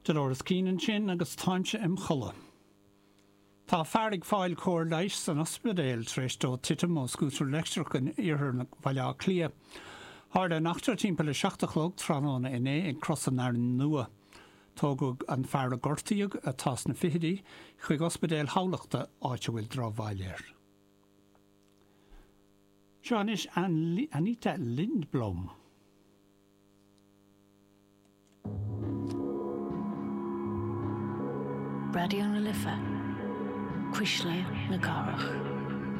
Dolores Keane ansin agus Táimse im chodladh. Tá fear ag fáil cóir leighis san ospidéal tar éis dó titim ó scútar leictreach in iarthar Bhaile Átha Cliath. Tharla an eachtra timpeall a 7 a chlog tráthnóna inné ag Cros an Fhearainn Nua. Tógadh an fear a gortaíodh, atá sna fichidí, chuig Ospidéal Thamhlachta, áit a bhfuil drochbhail air. Seo anois Anita Lindblom. Raidió na Life, Cuisle na Cathrach.